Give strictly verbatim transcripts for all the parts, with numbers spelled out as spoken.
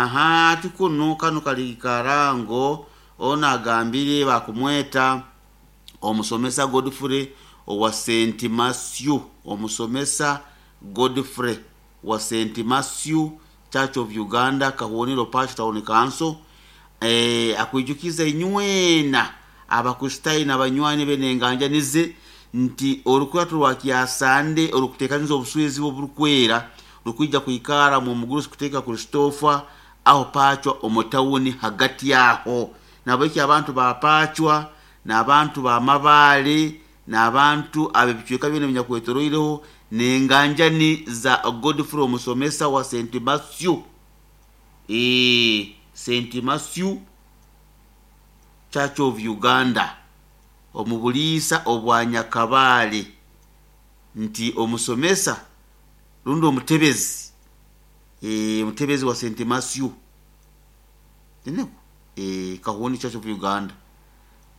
Aha ati kunu kanu kali karango ono agambire bakumweta omusomesa Godfrey owa Saint Matthew, omusomesa Godfrey wa Saint Matthew Church of Uganda Kahonero Parish Town Council eh, akwijukiza inywena abakristaayo n'abanywani be n'enganjanize nti orukurato rwa kyasande orukuteekaniza obuswezi oburukwera rukwija kwikara mu mugurusi kuteeka Christopher aho Pachwa omu tawuni hagati aho nabweki abantu ba Pachwa n'abantu ba Mabaale n'abantu ab'ebicweka byona ebinyakwetoroireho n'enganjani za Godfrey omusomesa wa Saint Matthew eh, Saint Matthew Church of Uganda omu buliisa obwa Nyakabaale nti omusomesa rundi omutebezi eh, omutebezi wa Saint Matthew tineko eh, Kahoni Church of Uganda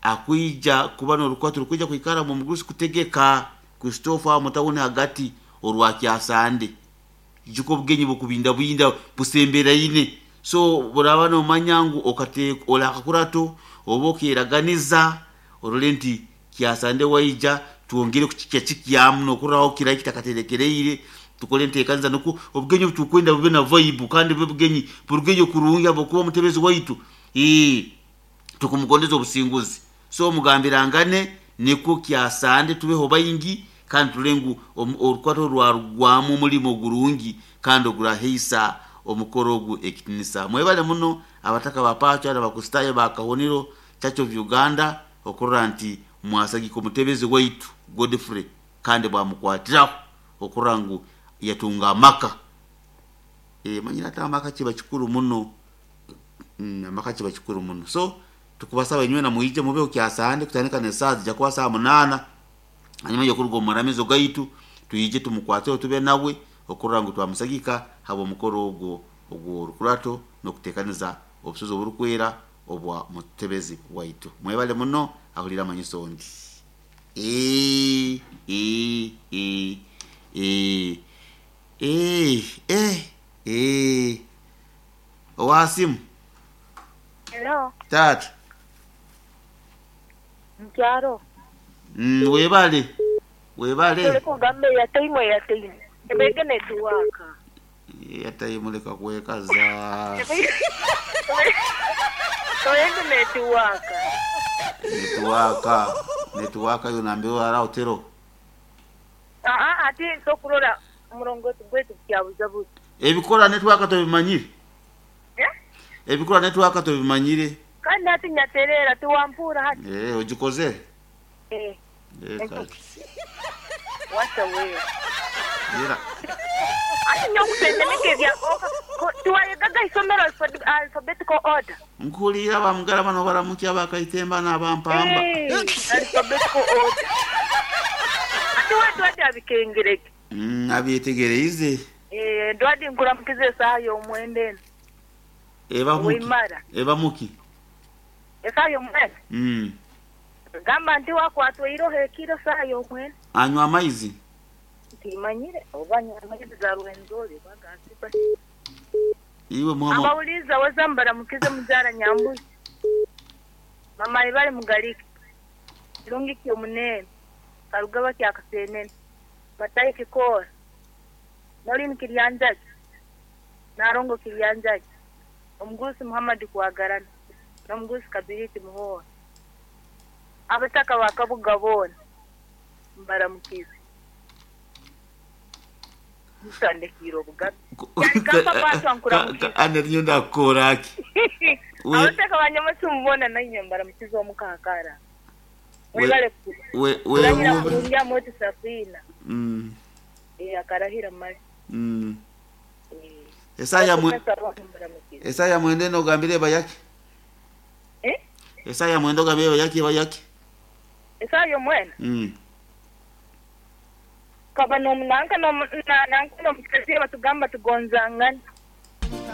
akwija kuba n'orukwato rukwija kwikara mu mugurusi kutegeka Christopher mutawuni hagati orwa kyasande juko obugenyi bukubinda bwinda busemberaine so buraba nomanya ngu okate olakakurato oba okeraganiza orole nti kyasande waija twongere kukikya kikyamu nokuraho kirai kitakaterekereire tukole enteekaniza nuku obugenyi obu tukwenda bube na vibe kandi bube bugenyi burugeyo kurungi habwokuba omutebezi waitu ee tukumugondeza obusinguzi so mugambirangane nikwo kyasande tubeho baingi kandi turole ngu orukwato rwarugwamu omulimo gurungi kandi oguraheisa omukoro ogu ekitinisa. Mwebale muno abataka ba Pachwa n'abakristaayo ba Kahonero Church of Uganda okurora nti mwasagika omutebezi waitu Godfrey kandi bwamukwatiraho okurora ngu yatunga amaka. E, manyire ate amaka kiba kikuru muno mm, amaka kiba kikuru muno so tukubasaba inywena mwije mubeho kyasande kutandika n'esaaha zija kuba saaha munaana hanyuma y'okuruga omu maramizo gaitu twije tumukwateho tube nawe okurora ngu twamusagika habw'omukoro ogwo ogw'orukurato n'okuteekaniza obusozi oburukwera obwa mutebezi waitu. Mwebale muno ahulira amanyiso ndi ee ee ee ee ee eh ee owasimu Hello, taata mukyalo. mm, webale webale Tuli kugamba eyataimu eyataimu. Ebege netuwaka. yatayimu leka kwekaza Ebege netuwaka. netuwaka netuwaka yo nambiwa ara otero Aa ati tokurora omurongoti gwaitu kyabuzabuza. ebikora netwaka tobimanyire Eh? ebikora netwaka tobimanyire Kandi hati nyaterera tiwampura hati. eh ogikoze Eh, eh kale wacha wewe. era Ati nyokutendeneka ebya tiwayegaga isomero alphabet- alphabetical order. nkuliira bamugala bano baramukya bakaitemba n'abampamba Eh, alphabetical order. Ati watu wati abikengereke. mm, abyetegereize Eh, ndwadi nkuramukiza esaaha y'omwenda eno. eba muki Wimara. eba muki Esaaha y'omwenda. mm. Gamba nti wakwatwa iroho ekiro saaha y'omwenda. anywa amaizi Ntimanyire oba nywa amaizi ga Rwenzori oba ga Sipa. iwe muhama Abawuliza waza mbaramukize muzaara Nyambuzi. Mama ibale mugalike. Kirungi ky'omunene. Karugaba kya Kasenene. Matayi Kikoora. Nolini Kiryanjagi. Narongo Kiryanjagi. Omugurusi Muhammad Kwagarana. N'omugurusi Kabiriti Muhoora. Abataka ba Kabuga boona mbaramukize. Mutandikiire obugabe. Kyali Pachwa nkuramukize. ana rinyo ndakukoraki We- Abataka ba Nyamucumu boona nainywe mbaramukize omukakara. We- Mwebale we kurahira wehuba kurungi amoti safina. mm, Eh, akarahira mali. mm. Eh. esaya mwe Abasomesa boona mbaramukize. esaya mwende nogambire bayaki Eh? esaya mwende ogambire bayaki bayaki Esaaha y'omwenda mm. kaba nomunanka nanka nomukazi batugamba tugonzangana.